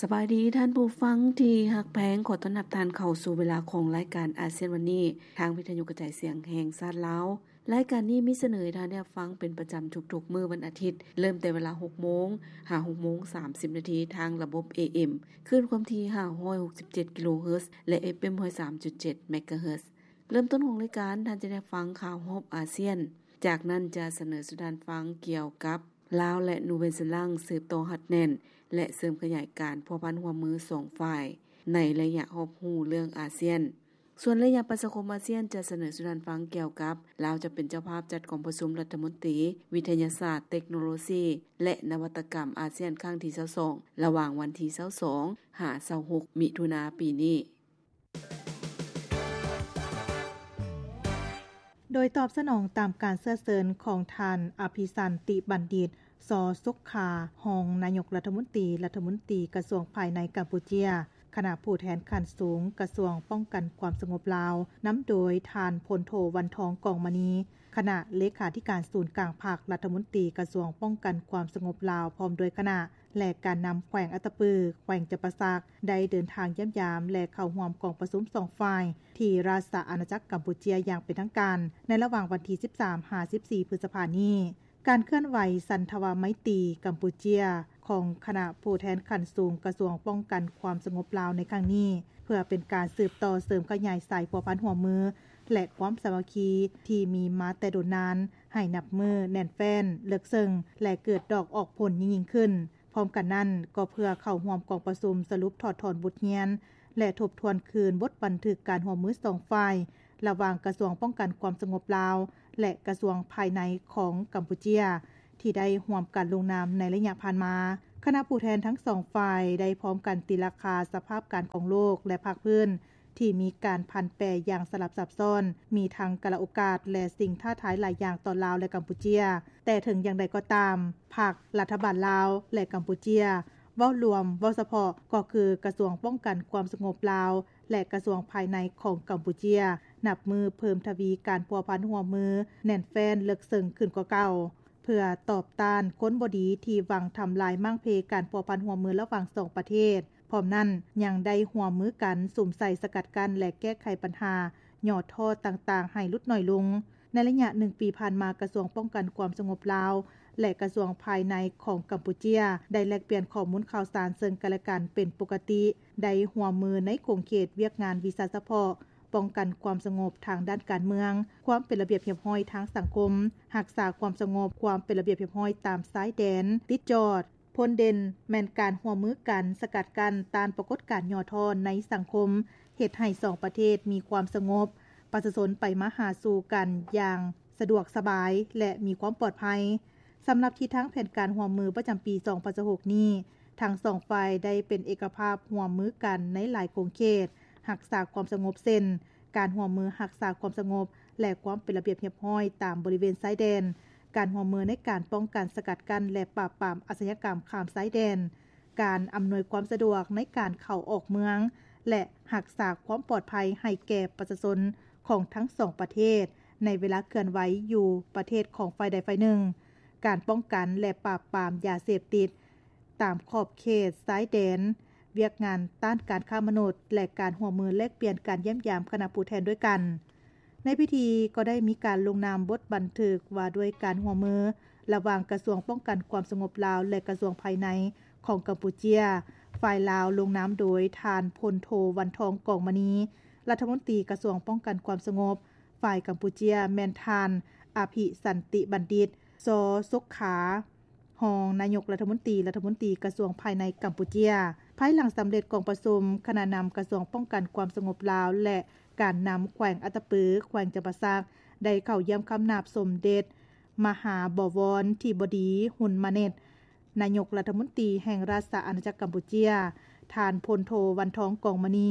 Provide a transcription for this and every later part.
ສະບາຍດີທ່ານຜູ້ຟັງທີ່ຮັກແພງ, ຂໍຕ້ອນຮັບທ່ານເຂົ້າສູ່ເວລາຂອງລາຍການອາຊຽນວັນນີ້ ທາງວິທະຍຸກະຈາຍສຽງແຫ່ງຊາດລາວ. ລາຍການນີ້ມີສະເໜີໃຫ້ທ່ານໄດ້ຮັບຟັງເປັນປະຈຳທຸກໆມື້ວັນອາທິດ, ເລີ່ມແຕ່ເວລາຫົກໂມງຫາຫົກໂມງສາມສິບນາທີ ທາງລະບົບ ເອເອັມ ຄື້ນຄວາມຖີ່ຫ້າຮ້ອຍຫົກສິບເຈັດກິໂລເຮີດ ແລະ ເອຟເອັມຮ້ອຍສາມຈຸດເຈັດເມກາເຮີດ. ເລີ່ມຕົ້ນຂອງລາຍການ, ທ່ານຈະໄດ້ຟັງຂ່າວຮອບອາຊຽນ. ຈາກນັ້ນຈະສະເໜີສູ່ທ່ານຟັງກ່ຽວກັບ ລາວ ແລະ ນູເວນເຊແລັນ ສືບຕໍ່ຮັດແໜ້ນ ແລະ ເສີມຂະຫຍາຍການພົວພັນຮ່ວມມືສອງຝ່າຍ ໃນໄລຍະຮອບຮູ້ເລື່ອງອາຊຽນ. ສ່ວນໄລຍະປະຊາຄົມອາຊຽນ ຈະສະເໜີສູ່ທ່ານຟັງກ່ຽວກັບ ລາວຈະເປັນເຈົ້າພາບຈັດກອງປະຊຸມລັດຖະມົນຕີວິທະຍາສາດ, ເຕັກໂນໂລຊີ ແລະ ນະວັດຕະກຳອາຊຽນຄັ້ງທີຊາວສອງ ລະຫວ່າງວັນທີຊາວສອງຫາຊາວຫົກມິຖຸນາປີນີ້. ໂດຍຕອບສະໜອງຕາມການເຊື້ອເຊີນຂອງທ່ານ ອະພິສັນຕິບັນດິດ ຊໍ ສຸກຂາ ຮອງນາຍົກລັດຖະມົນຕີ, ລັດຖະມົນຕີກະຊວງພາຍໃນກຳປູເຈຍ, ຄະນະຜູ້ແທນຂັ້ນສູງກະຊວງປ້ອງກັນຄວາມສະຫງົບລາວ, ນຳໂດຍທ່ານ ພົນໂທ ວັນທອງ ກອງມະນີ, ຄະນະເລຂາທິການສູນກາງພັກ, ລັດຖະມົນຕີກະຊວງປ້ອງກັນຄວາມສະຫງົບລາວ ພ້ອມດ້ວຍຄະນະ ແລະ ການນຳແຂວງອັດຕະປື, ແຂວງຈຳປາສັກ ໄດ້ເດີນທາງຢ້ຽມຢາມ ແລະ ເຂົ້າຮ່ວມກອງປະຊຸມສອງຝ່າຍ ທີ່ລາຊະອານາຈັກກຳປູເຈຍຢ່າງເປັນທາງການ ໃນລະຫວ່າງວັນທີສິບສາມຫາສິບສີ່ ພຶດສະພານີ້. ການເຄື່ອນໄຫວສັນທະວາໄມຕີກຳປູເຈຍ ຂອງຄະນະຜູ້ແທນຂັ້ນສູງກະຊວງປ້ອງກັນຄວາມສະຫງົບລາວໃນຄັ້ງນີ້ ເພື່ອເປັນການສືບຕໍ່ເສີມຂະຫຍາຍສາຍພົວພັນຮ່ວມມື ແລະ ຄວາມສາມັກຄີທີ່ມີມາແຕ່ດົນນານ ໃຫ້ນັບມື້ແໜ້ນແຟ້ນ, ເລິກເຊິ່ງ ແລະ ເກີດດອກອອກຜົນຍິ່ງໆຂຶ້ນ. ພ້ອມກັນນັ້ນ, ກໍເພື່ອເຂົ້າຮ່ວມກອງປະຊຸມສະຫຼຸບຖອດຖອນບົດຮຽນ ແລະ ທົບທວນຄືນບົດບັນທຶກການຮ່ວມມືສອງຝ່າຍ ລະຫວ່າງກະຊວງປ້ອງກັນຄວາມສະຫງົບລາວ ແລະ ກະຊວງພາຍໃນຂອງກຳປູເຈຍ ທີ່ໄດ້ຮ່ວມກັນລົງນາມໃນໄລຍະຜ່ານມາ. ຄະນະຜູ້ແທນທັງສອງຝ່າຍໄດ້ພ້ອມກັນຕີລາຄາສະພາບການຂອງໂລກ ແລະ ພາກພື້ນ ທີ່ມີການຜັນແປຢ່າງສະຫຼັບຊັບຊ້ອນ, ມີທັງກາລະໂອກາດ ແລະ ສິ່ງທ້າທາຍຫຼາຍຢ່າງຕໍ່ລາວ ແລະ ກຳປູເຈຍ. ແຕ່ເຖິງຢ່າງໃດກໍຕາມ, ພັກລັດຖະບານລາວ ແລະ ກຳປູເຈຍ ເວົ້າລວມ, ເວົ້າສະເພາະ ກໍຄືກະຊວງປ້ອງກັນຄວາມສະຫງົບລາວ ແລະ ກະຊວງພາຍໃນຂອງກຳປູເຈຍ ນັບມື້ເພີ່ມທະວີການພົວພັນຮ່ວມມືແໜ້ນແຟ້ນເລິກເຊິ່ງຂຶ້ນກວ່າເກົ່າ. ເພື່ອຕອບຕ້ານຄົນບໍ່ດີທີ່ຫວັງທຳລາຍມ້າງເພການພົວພັນຮ່ວມມືລະຫວ່າງສອງປະເທດ, ພ້ອມນັ້ນຍັງໄດ້ຮ່ວມມືກັນສຸມໃສ່ສະກັດກັ້ນ ແລະ ແກ້ໄຂບັນຫາຫຍໍ້ທໍ້ຕ່າງໆໃຫ້ຫຼຸດໜ້ອຍລົງ. ໃນໄລຍະໜຶ່ງປີຜ່ານມາ, ກະຊວງປ້ອງກັນຄວາມສະຫງົບລາວ ແລະ ກະຊວງພາຍໃນຂອງກຳປູເຈຍ ໄດ້ແລກປ່ຽນຂໍ້ມູນຂ່າວສານເຊິ່ງກັນ ແລະ ກັນເປັນປົກກະຕິ, ໄດ້ຮ່ວມມືໃນຂົງເຂດວຽກງານວິຊາສະເພາະ, ປ້ອງກັນຄວາມສະຫງົບທາງດ້ານການເມືອງ, ຄວາມເປັນລະບຽບຮຽບຮ້ອຍທາງສັງຄົມ, ຮັກສາຄວາມສະຫງົບ, ຄວາມເປັນລະບຽບຮຽບຮ້ອຍຕາມຊາຍແດນຕິດຈອດ. ຜົນເດັ່ນແມ່ນການຮ່ວມມືກັນສະກັດກັ້ນຕ້ານປາກົດການຫຍໍ້ທໍ້ໃນສັງຄົມ, ເຮັດໃຫ້ສອງປະເທດມີຄວາມສະຫງົບ, ປະຊາຊົນໄປມາຫາສູ່ກັນຢ່າງສະດວກສະບາຍ ແລະ ມີຄວາມປອດໄພ. ສຳລັບທິດທາງແຜນການຮ່ວມມືປະຈຳປີສອງພັນຊາວຫົກນີ້, ທັງສອງຝ່າຍໄດ້ເປັນເອກະພາບຮ່ວມມືກັນໃນຫຼາຍຂົງເຂດຮັກສາຄວາມສະຫງົບ ເຊັ່ນ ການຮ່ວມມືຮັກສາຄວາມສະຫງົບ ແລະ ຄວາມເປັນລະບຽບຮຽບຮ້ອຍຕາມບໍລິເວນຊາຍແດນ, ການຮ່ວມມືໃນການປ້ອງກັນ, ສະກັດກັ້ນ ແລະ ປາບປາມອາຊະຍາກຳຂ້າມຊາຍແດນ, ການອຳນວຍຄວາມສະດວກໃນການເຂົ້າອອກເມືອງ ແລະ ຮັກສາຄວາມປອດໄພໃຫ້ແກ່ປະຊາຊົນຂອງທັງສອງປະເທດ ໃນເວລາເຄື່ອນໄຫວຢູ່ປະເທດຂອງຝ່າຍໃດຝ່າຍໜຶ່ງ, ການປ້ອງກັນ ແລະ ປາບປາມຢາເສບຕິດຕາມຂອບເຂດຊາຍແດນ, ວຽກງານຕ້ານການຄ້າມະນຸດ ແລະ ການຮ່ວມມືແລກປ່ຽນການຢ້ຽມຢາມຄະນະຜູ້ແທນດ້ວຍກັນ. ໃນພິທີກໍໄດ້ມີການລົງນາມບົດບັນທຶກວ່າດ້ວຍການຮ່ວມມືລະຫວ່າງກະຊວງປ້ອງກັນຄວາມສະຫງົບລາວ ແລະ ກະຊວງພາຍໃນຂອງກຳປູເຈຍ. ຝ່າຍລາວລົງນາມໂດຍທ່ານ ພົນໂທ ວັນທອງ ກອງມະນີ, ລັດຖະມົນຕີກະຊວງປ້ອງກັນຄວາມສະຫງົບ, ຝ່າຍກຳປູເຈຍແມ່ນທ່ານ ອະພິສັນຕິບັນດິດ ຊໍ ສຸກຂາ, ຮອງນາຍົກລັດຖະມົນຕີ, ລັດຖະມົນຕີກະຊວງພາຍໃນກຳປູເຈຍ. ພາຍຫຼັງສຳເລັດກອງປະຊຸມ, ຄະນະນຳກະຊວງປ້ອງກັນຄວາມສະຫງົບລາວ ແລະ ການນຳແຂວງອັດຕະປື, ແຂວງຈຳປາສັກ ໄດ້ເຂົ້າຢ້ຽມຄຳນັບສົມເດັດມະຫາບໍວອນທິບໍດີ ຮຸນມາເນັດ ນາຍົກລັດຖະມົນຕີແຫ່ງລາຊະອານາຈັກກຳປູເຈຍ, ທ່ານ ພົນໂທ ວັນທອງ ກອງມະນີ,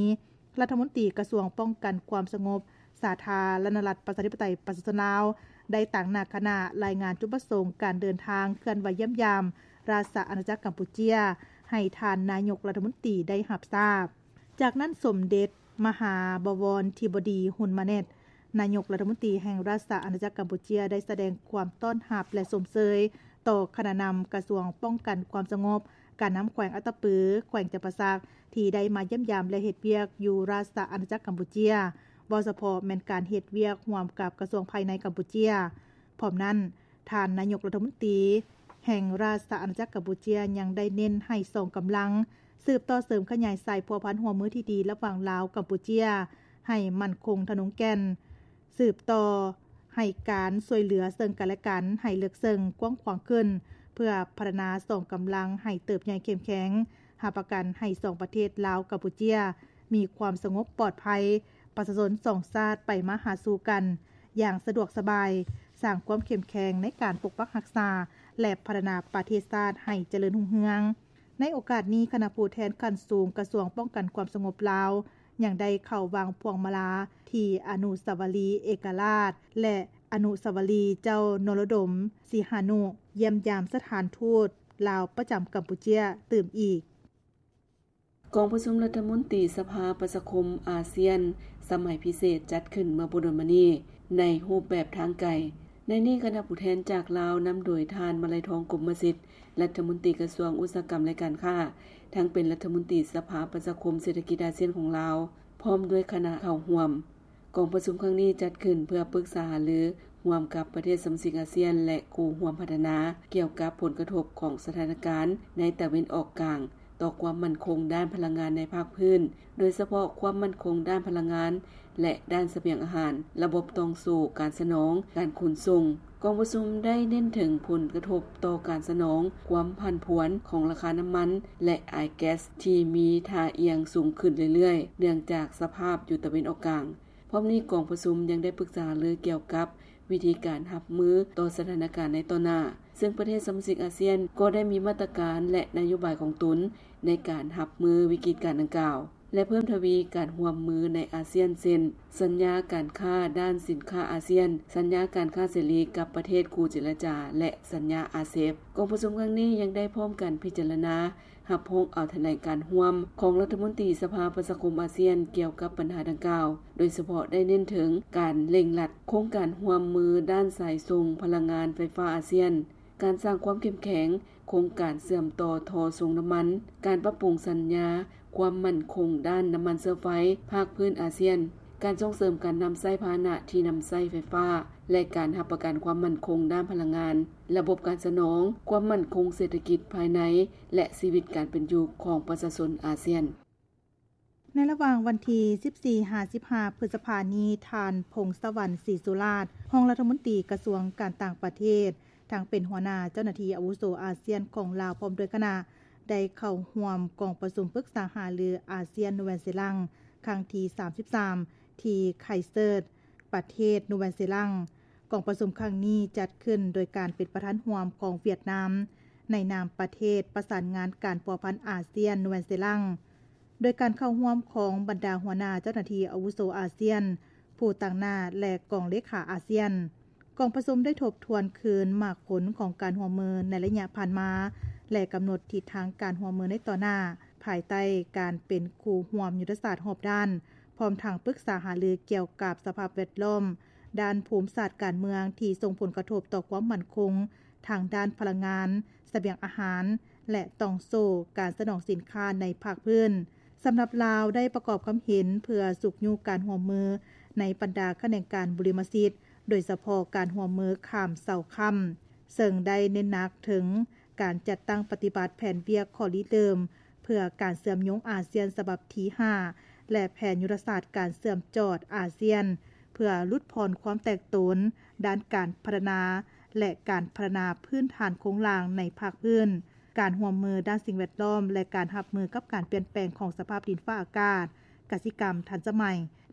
ລັດຖະມົນຕີກະຊວງປ້ອງກັນຄວາມສະຫງົບ ສາທາລະນະລັດ ປະຊາທິປະໄຕ ປະຊາຊົນລາວ ໄດ້ຕາງໜ້າຄະນະລາຍງານຈຸດປະສົງການເດີນທາງເຄື່ອນໄຫວຢ້ຽມຢາມລາຊະອານາຈັກກຳປູເຈຍ ໃຫ້ທ່ານນາຍົກລັດຖະມົນຕີໄດ້ຮັບຊາບ. ຈາກນັ້ນ ສົມເດັດມະຫາບໍວອນທິບໍດີ ຮຸນມາເນັດ ນາຍົກລັດຖະມົນຕີແຫ່ງລາຊະອານາຈັກກຳປູເຈຍ ໄດ້ສະແດງຄວາມຕ້ອນຮັບ ແລະ ຊົມເຊີຍຕໍ່ຄະນະນຳກະຊວງປ້ອງກັນຄວາມສະຫງົບ, ການນຳແຂວງອັດຕະປື, ແຂວງຈຳປາສັກ ທີ່ໄດ້ມາຢ້ຽມຢາມ ແລະ ເຮັດວຽກຢູ່ລາຊະອານາຈັກກຳປູເຈຍ, ເວົ້າສະເພາະແມ່ນການເຮັດວຽກຮ່ວມກັບກະຊວງພາຍໃນກຳປູເຈຍ. ພ້ອມນັ້ນ, ທ່ານນາຍົກລັດຖະມົນຕີແຫ່ງລາຊະອານາຈັກກຳປູເຈຍ ຍັງໄດ້ເນັ້ນໃຫ້ສອງກຳລັງສືບຕໍ່ເສີມຂະຫຍາຍສາຍພົວພັນຮ່ວມມືທີ່ດີລະຫວ່າງລາວ-ກຳປູເຈຍ ໃຫ້ໝັ້ນຄົງທະນົງແກ່ນ, ສືບຕໍ່ໃຫ້ການຊ່ວຍເຫຼືອເຊິ່ງກັນແລະກັນໃຫ້ເລິກເຊິ່ງກວ້າງຂວາງຂຶ້ນ ເພື່ອພັດທະນາສອງກຳລັງໃຫ້ເຕີບໃຫຍ່ເຂັ້ມແຂງ, ຮັບປະກັນໃຫ້ສອງປະເທດລາວ-ກຳປູເຈຍ ມີຄວາມສະຫງົບປອດໄພ, ປະຊາຊົນສອງຊາດໄປມາຫາສູ່ກັນຢ່າງສະດວກສະບາຍ, ສ້າງຄວາມເຂັ້ມແຂງໃນການປົກປັກຮັກສາ ແລະ ພັດທະນາປະເທດຊາດໃຫ້ຈະເລີນຮຸ່ງເຮືອງ. ໃນໂອກາດນີ້, ຄະນະຜູ້ແທນຂັ້ນສູງກະຊວງປ້ອງກັນຄວາມສະຫງົບລາວ ຍັງໄດ້ເຂົ້າວາງພວງມາລາທີ່ອະນຸສາວະລີເອກະລາດ ແລະ ອະນຸສາວະລີເຈົ້ານົລະດົມ ສີຫານຸ, ຢ້ຽມຢາມສະຖານທູດລາວປະຈຳກຳປູເຈຍຕື່ມອີກ. ກອງປະຊຸມລັດຖະມົນຕີສະພາປະຊາຄົມອາຊຽນສະໄໝພິເສດ ຈັດຂຶ້ນເມື່ອບໍ່ດົນມານີ້ໃນຮູບແບບທາງໄກ. ໃນນີ້ຄະນະຜູ້ແທນຈາກລາວນຳໂດຍທ່ານ ມະໄລທອງ ກົມມະສິດ ລັດຖະມົນຕີກະຊວງອຸດສາຫະກຳ ແລະ ການຄ້າ, ທັງເປັນລັດຖະມົນຕີສະພາປະຊາຄົມເສດຖະກິດອາຊຽນຂອງລາວ ພ້ອມດ້ວຍຄະນະເຂົ້າຮ່ວມ. ກອງປະຊຸມຄັ້ງນີ້ຈັດຂຶ້ນເພື່ອປຶກສາຫາລືຮ່ວມກັບປະເທດສະມາຊິກອາຊຽນ ແລະ ຄູ່ຮ່ວມພັດທະນາ ກ່ຽວກັບຜົນກະທົບຂອງສະຖານະການໃນຕາເວັນອອກກາງ ຕໍ່ຄວາມໝັ້ນຄົງດ້ານພະລັງງານໃນພາກພື້ນ, ໂດຍສະເພາະຄວາມໝັ້ນຄົງດ້ານພະລັງງານ ແລະ ດ້ານສະບຽງອາຫານ, ລະບົບຕ່ອງໂສ້ການສະໜອງ, ການຂົນສົ່ງ. ກອງປະຊຸມໄດ້ເນັ້ນເຖິງຜົນກະທົບຕໍ່ການສະໜອງຄວາມຜັນຜວນຂອງລາຄານ້ຳມັນ ແລະ ອາຍແກັສ ທີ່ມີທ່າອ່ຽງສູງຂຶ້ນເລື້ອຍໆ ເນື່ອງຈາກສະພາບຢູ່ຕາເວັນອອກກາງ. ພ້ອມນີ້ກອງປະຊຸມຍັງໄດ້ປຶກສາຫາລືກ່ຽວກັບວິທີການຮັບມືຕໍ່ສະຖານະການໃນຕໍ່ໜ້າ, ເຊິ່ງປະເທດສະມາຊິກອາຊຽນກໍໄດ້ມີມາດຕະການ ແລະ ນະໂຍບາຍຂອງຕົນໃນການຮັບມືວິກິດການດັ່ງກ່າວ ແລະ ເພີ່ມທະວີການຮ່ວມມືໃນອາຊຽນ ເຊັ່ນ ສັນຍາການຄ້າດ້ານສິນຄ້າອາຊຽນ, ສັນຍາການຄ້າເສລີກັບປະເທດຄູ່ເຈລະຈາ ແລະ ສັນຍາອາເຊບ. ກອງປະຊຸມຄັ້ງນີ້ຍັງໄດ້ພ້ອມກັນພິຈາລະນາ ຮັບຮອງເອົາຖະແຫຼງການຮ່ວມຂອງລັດຖະມົນຕີສະພາປະຊາຄົມອາຊຽນກ່ຽວກັບບັນຫາດັ່ງກ່າວ, ໂດຍສະເພາະໄດ້ເນັ້ນເຖິງການເລັ່ງລັດໂຄງການຮ່ວມມືດ້ານສາຍສົ່ງພະລັງງານໄຟຟ້າອາຊຽນ, ການສ້າງຄວາມເຂັ້ມແຂງໂຄງການເຊື່ອມຕໍ່ທໍ່ສົ່ງນ້ຳມັນ, ການປັບປຸງສັນຍາຄວາມໝັ້ນຄົງດ້ານນ້ຳມັນເຊື້ອໄຟພາກພື້ນອາຊຽນ, ການສົ່ງເສີມການນຳໃຊ້ພາຫະນະທີ່ນຳໃຊ້ໄຟຟ້າ ແລະ ການຮັບປະກັນຄວາມໝັ້ນຄົງດ້ານພະລັງງານ, ລະບົບການສະໜອງ, ຄວາມໝັ້ນຄົງເສດຖະກິດພາຍໃນ ແລະ ຊີວິດການເປັນຢູ່ຂອງປະຊາຊົນອາຊຽນ. ໃນລະຫວ່າງວັນທີສິບສີ່ ຫາ ສິບຫ້າ ພຶດສະພານີ້, ທ່ານ ພົງສະຫວັນ ສີສຸລາດ ຮອງລັດຖະມົນຕີກະຊວງການຕ່າງປະເທດ, ທັງເປັນຫົວໜ້າເຈົ້າໜ້າທີ່ອາວຸໂສອາຊຽນຂອງລາວ ພ້ອມດ້ວຍຄະນະ ໄດ້ເຂົ້າຮ່ວມກອງປະຊຸມປຶກສາຫາລືອາຊຽນ-ນູແວນເຊລັງ ຄັ້ງທີ ສາມສິບສາມ ທີ່ໄຄເຊີດ ປະເທດນູແວນເຊລັງ. ກອງປະຊຸມຄັ້ງນີ້ຈັດຂຶ້ນໂດຍການເປັນປະທານຮ່ວມຂອງຫວຽດນາມ ໃນນາມປະເທດປະສານງານການພົວພັນອາຊຽນ-ນູແວນເຊລັງ, ໂດຍການເຂົ້າຮ່ວມຂອງບັນດາຫົວໜ້າເຈົ້າໜ້າທີ່ອາວຸໂສອາຊຽນ, ຜູ້ຕາງໜ້າ ແລະ ກອງເລຂາອາຊຽນ. ກອງປະຊຸມໄດ້ທົບທວນຄືນໝາກຜົນຂອງການຮ່ວມມືໃນໄລຍະຜ່ານມາ ແລະ ກຳນົດທິດທາງການຮ່ວມມືໃນຕໍ່ໜ້າ, ພາຍໃຕ້ການເປັນຄູ່ຮ່ວມຍຸດທະສາດຮອບດ້ານ, ພ້ອມທັງປຶກສາຫາລືກ່ຽວກັບສະພາບແວດລ້ອມ, ດ້ານພູມສາດການເມືອງທີ່ສົ່ງຜົນກະທົບຕໍ່ຄວາມໝັ້ນຄົງທາງດ້ານພະລັງງານ, ສະບຽງອາຫານ ແລະ ຕ່ອງໂສ້ການສະໜອງສິນຄ້າໃນພາກພື້ນ. ສຳລັບລາວໄດ້ປະກອບຄຳເຫັນເພື່ອຊຸກຍູ້ການຮ່ວມມືໃນບັນດາຂະແໜງການບຸລິມະສິດ, ໂດຍສະເພາະການຮ່ວມມືຂ້າມເສົາຄ້ຳ, ເຊິ່ງໄດ້ເນັ້ນໜັກເຖິງການຈັດຕັ້ງປະຕິບັດແຜນວຽກຂໍ້ລິເລີ່ມ ເພື່ອການເຊື່ອມໂຍງອາຊຽນສະບັບທີຫ້າ ແລະ ແຜນຍຸດທະສາດການເຊື່ອມຈອດອາຊຽນ ເພື່ອຫຼຸດຜ່ອນຄວາມແຕກໂຕນດ້ານການພັດທະນາ ແລະ ການພັດທະນາພື້ນຖານໂຄງລ່າງໃນພາກພື້ນ, ການຮ່ວມມືດ້ານສິ່ງແວດລ້ອມ ແລະ ການຮັບມືກັບການປ່ຽນແປງຂອງສະພາບດິນຟ້າອາກາດ, ກະສິກຳທັນສະໄໝ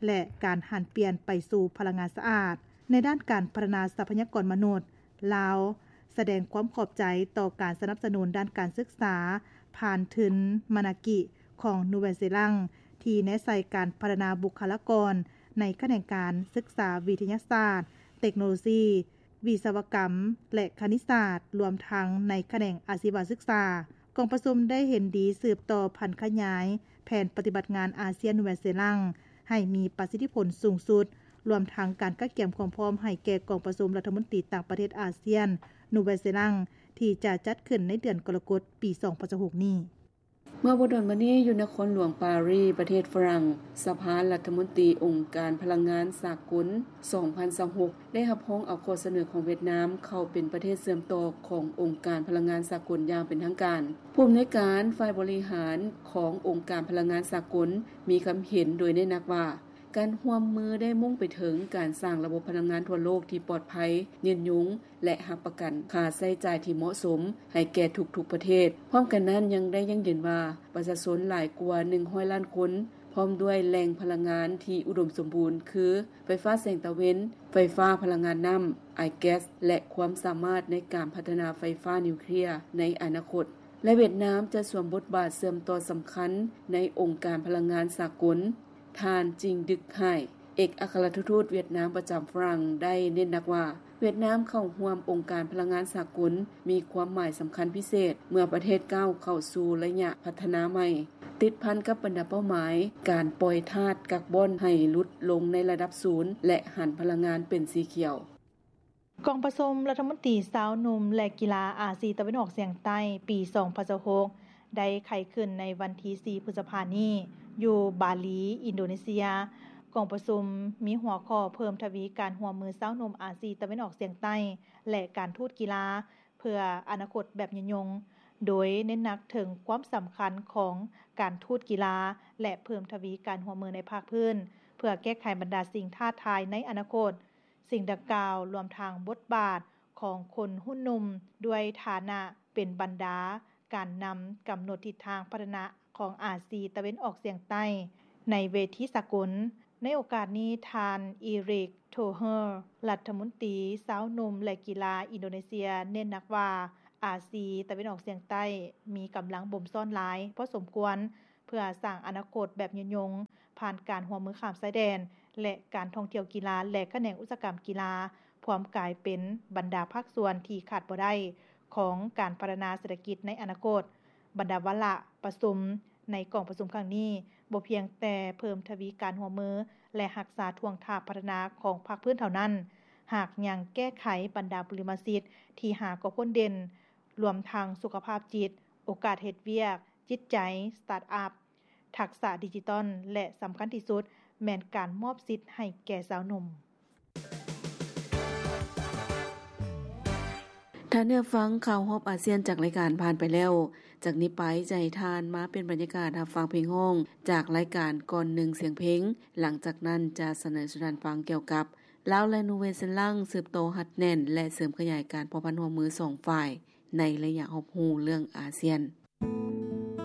ແລະ ການຫັນປ່ຽນໄປສູ່ພະລັງງານສະອາດ. ໃນດ້ານການພັດທະນາຊັບພະຍາກອນມະນຸດ, ລາວສະແດງຄວາມຂອບໃຈຕໍ່ການສະໜັບສະໜູນດ້ານການສຶກສາຜ່ານທຶນມານາກິຂອງນູແວນເຊລັງ ທີ່ແນໃສ່ການພັດທະນາບຸກຄະລາກອນໃນຂະແໜງການສຶກສາວິທະຍາສາດ, ເຕັກໂນໂລຊີ, ວິສະວະກຳ ແລະ ຄະນິດສາດ, ລວມທັງໃນຂະແໜງອາຊີວະສຶກສາ. ກອງປະຊຸມໄດ້ເຫັນດີສືບຕໍ່ຜັນຂະຫຍາຍແຜນປະຕິບັດງານອາຊຽນ-ນູແວນເຊລັງ ໃຫ້ມີປະສິດທິຜົນສູງສຸດ, ລວມທັງການກະກຽມຄວາມພ້ອມໃຫ້ແກ່ກອງປະຊຸມລັດຖະມົນຕີຕ່າງປະເທດອາຊຽນ-ນູແວນເຊລັງ ທີ່ຈະຈັດຂຶ້ນໃນເດືອນກໍລະກົດ ປີສອງພັນຊາວຫົກນີ້. ເມື່ອບໍ່ດົນມານີ້ ຢູ່ນະຄອນຫຼວງປາຣີ ປະເທດຝຣັ່ງ, ສະພາລັດຖະມົນຕີອົງການພະລັງງານສາກົນ ສອງພັນຊາວຫົກ ໄດ້ຮັບຮອງເອົາຂໍ້ສະເໜີຂອງຫວຽດນາມເຂົ້າເປັນປະເທດເຊື່ອມຕໍ່ຂອງອົງການພະລັງງານສາກົນຢ່າງເປັນທາງການ. ຜູ້ອຳນວຍການຝ່າຍບໍລິຫານຂອງອົງການພະລັງງານສາກົນມີຄຳເຫັນໂດຍເນັ້ນໜັກວ່າ ການຮ່ວມມືໄດ້ມຸ່ງໄປເຖິງການສ້າງລະບົບພະລັງງານທົ່ວໂລກທີ່ປອດໄພ, ຍືນຍົງ ແລະ ຮັບປະກັນຄ່າໃຊ້ຈ່າຍທີ່ເໝາະສົມໃຫ້ແກ່ທຸກໆປະເທດ. ພ້ອມກັນນັ້ນຍັງໄດ້ຢັ້ງຢືນວ່າ ປະຊາຊົນຫຼາຍກວ່າໜຶ່ງຮ້ອຍລ້ານຄົນ ພ້ອມດ້ວຍແຫຼ່ງພະລັງງານທີ່ອຸດົມສົມບູນ ຄື ໄຟຟ້າແສງຕາເວັນ, ໄຟຟ້າພະລັງງານນ້ຳ, ອາຍແກັສ ແລະ ຄວາມສາມາດໃນການພັດທະນາໄຟຟ້ານິວເຄລຍໃນອະນາຄົດ ແລະ ຫວຽດນາມຈະສວມບົດບາດເຊື່ອມຕໍ່ສຳຄັນໃນອົງການພະລັງງານສາກົນ. ທ່ານ ຈິງ ດຶກ ໄຮ ເອກອັກຄະລັດທູດຫວຽດນາມປະຈຳຝຣັ່ງ ໄດ້ເນັ້ນໜັກວ່າ ຫວຽດນາມເຂົ້າຮ່ວມອົງການພະລັງງານສາກົນມີຄວາມໝາຍສຳຄັນພິເສດ ເມື່ອປະເທດກ້າວເຂົ້າສູ່ໄລຍະພັດທະນາໃໝ່ ຕິດພັນກັບບັນດາເປົ້າໝາຍການປ່ອຍທາດກາບອນໃຫ້ຫຼຸດລົງໃນລະດັບສູນ ແລະ ຫັນພະລັງງານເປັນສີຂຽວ. ກອງປະຊຸມລັດຖະມົນຕີຊາວໜຸ່ມ ແລະ ກິລາອາຊີຕາເວັນອອກສຽງໃຕ້ ປີສອງພັນຊາວຫົກ ໄດ້ໄຂຂຶ້ນໃນວັນທີສີ່ ພຶດສະພານີ້ ຢູ່ບາລີ ອິນໂດເນເຊຍ. ກອງປະຊຸມມີຫົວຂໍ້ເພີ່ມທະວີການຮ່ວມມືຊາວໜຸ່ມອາຊີຕາເວັນອອກສຽງໃຕ້ ແລະ ການທູດກິລາ ເພື່ອອະນາຄົດແບບຍືນຍົງ, ໂດຍເນັ້ນໜັກເຖິງຄວາມສຳຄັນຂອງການທູດກິລາ ແລະ ເພີ່ມທະວີການຮ່ວມມືໃນພາກພື້ນ ເພື່ອແກ້ໄຂບັນດາສິ່ງທ້າທາຍໃນອະນາຄົດ. ສິ່ງດັ່ງກ່າວລວມທັງບົດບາດຂອງຄົນຮຸ່ນໜຸ່ມ ດ້ວຍຖານະເປັນບັນດາການນຳກຳນົດທິດທາງພັດທະນາຂອງອາຊີຕາເວັນອອກສຽງໃຕ້ໃນເວທີສາກົນ. ໃນໂອກາດນີ້, ທ່ານ ອີຣິກ ໂທເຮີ ລັດຖະມົນຕີຊາວໜຸ່ມ ແລະ ກິລາອິນໂດເນເຊຍ ເນັ້ນໜັກວ່າ ອາຊີຕາເວັນອອກສຽງໃຕ້ມີກຳລັງບົ່ມຊ້ອນຫຼາຍພໍສົມຄວນ ເພື່ອສ້າງອະນາຄົດແບບຍືນຍົງ ຜ່ານການຮ່ວມມືຂ້າມຊາຍແດນ ແລະ ການທ່ອງທ່ຽວກິລາ ແລະ ຂະແໜງອຸດສາຫະກຳກິລາ ພວມກາຍເປັນບັນດາພາກສ່ວນທີ່ຂາດບໍ່ໄດ້ຂອງການພັດທະນາເສດຖະກິດໃນອະນາຄົດ. ບັນດາວາລະປະຊຸມໃນກອງປະຊຸມຄັ້ງນີ້ ບໍ່ພຽງແຕ່ເພີ່ມທະວີການຮ່ວມມື ແລະ ຮັກສາທ່ວງທ່າພັດທະນາຂອງພາກພື້ນເທົ່ານັ້ນ, ຫາກຍັງແກ້ໄຂບັນດາບຸລິມະສິດທີ່ຫາກໍພົ້ນເດັ່ນ, ລວມທັງສຸຂະພາບຈິດ, ໂອກາດເຮັດວຽກ, ຈິດໃຈ, ສະຕາດອັບ, ທັກສະດິຈິຕອນ ແລະ ສຳຄັນທີ່ສຸດ ແມ່ນການມອບສິດໃຫ້ແກ່ຊາວໜຸ່ມ. ທ່ານໄດ້ຮັບຟັງຂ່າວຮອບອາຊຽນຈາກລາຍການຜ່ານໄປແລ້ວ. ຈາກນີ້ໄປຈະໃຫ້ທ່ານມາປ່ຽນບັນຍາກາດຮັບຟັງເພງຮ້ອງຈາກລາຍການກ່ອນໜຶ່ງສຽງເພງ. ຫຼັງຈາກນັ້ນຈະສະເໜີສູ່ທ່ານຟັງກ່ຽວກັບ ລາວ ແລະ ນູເວເຊັນລັງ ສືບຕໍ່ຮັດແໜ້ນ ແລະ ເສີມຂະຫຍາຍການພົວພັນຮ່ວມມືສອງຝ່າຍໃນໄລຍະຮອບຮູ້ເລື່ອງອາຊຽນ.